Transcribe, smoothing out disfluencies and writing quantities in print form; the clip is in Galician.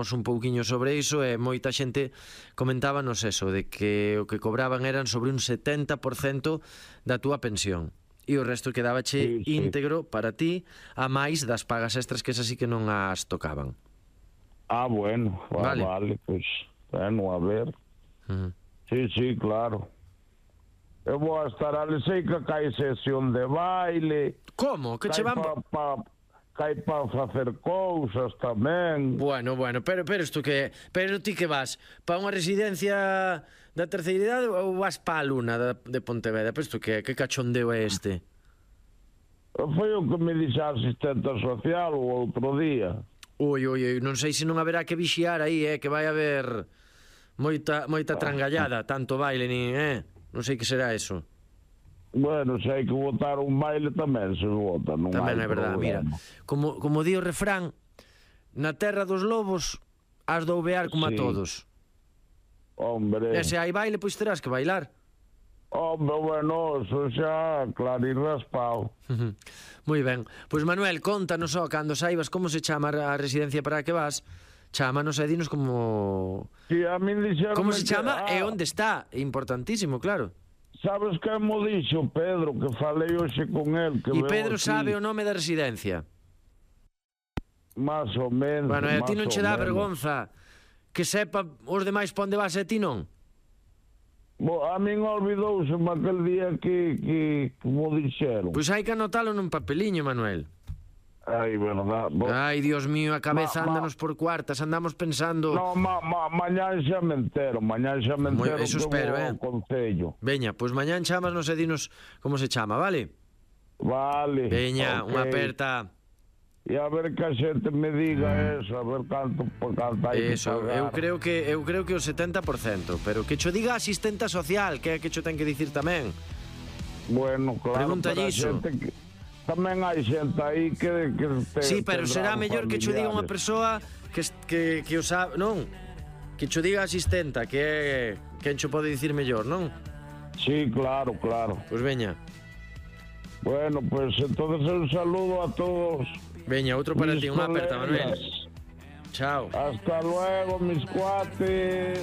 falamos un pouquiño sobre iso e moita xente comentábanos eso, de que o que cobraban eran sobre un 70% da túa pensión. E o resto quedábache íntegro para ti, a máis das pagas extras que esas sí que non as tocaban. Bueno, vale, pues, bueno, a ver. Sí, claro. Eu vou a estar ali, sei que cae sesión de baile. Como? Que che van... Cai para facer cousas tamén. Bueno, pero isto que... Pero ti que vas? Para unha residencia da terceira idade ou vas para a Luna de Pontevedra? Pero isto que cachondeo é este? Foi o que me dixe a asistente social o outro día. Ui, non sei se non haberá que vixiar aí, que vai haber moita trangallada, tanto baile nin, non sei que será eso. Bueno, se hai que votar un baile tamén se vota, non tamén é verdade, mira, como di o refrán, na terra dos lobos has de ouvear como a todos. Hombre. E se hai baile, pois terás que bailar. Hombre, bueno, eso xa claro e raspado. Moi ben, pois Manuel, contanos só cando saibas como se chama a residencia para a que vas. Chámanos e dinos como... Sí, a min dixeron... Como se chama e onde está, é importantísimo, claro. Sabes que mo dixo Pedro, que falei hoxe con el, que e Pedro sabe o nome da residencia? Más ou menos. Bueno, e a ti non che dá vergonza que sepa os demais pa onde vas e ti non? A min olvidouse aquel día que mo dixeron. Pois hai que anotalo nun papeliño, Manuel. Ai, verdad. Ai, Dios mío, a cabeza ándanos por cuartas, andamos pensando... No, mañán xa me entero, eso espero, Concello. Veña, pois mañán chamasnos e dinos como se chama, vale? Vale. Veña, unha aperta. E a ver que a xente me diga eso, a ver canto hai que pagar. Eu creo que o 70%, pero que cho diga a asistenta social, que é que cho ten que dicir tamén. Bueno, claro. Pregúntalle iso. Tamén hai xente aí que sí, pero será mellor que cho diga unha persoa que o sabe, non? Que cho diga a asistenta, que é quen cho pode dicir mellor, non? Sí, claro. Pois veña. Bueno, pues entonces un saludo a todos. Veña, outro para ti, unha aperta, Manuel. Chao. Hasta luego, mis cuates.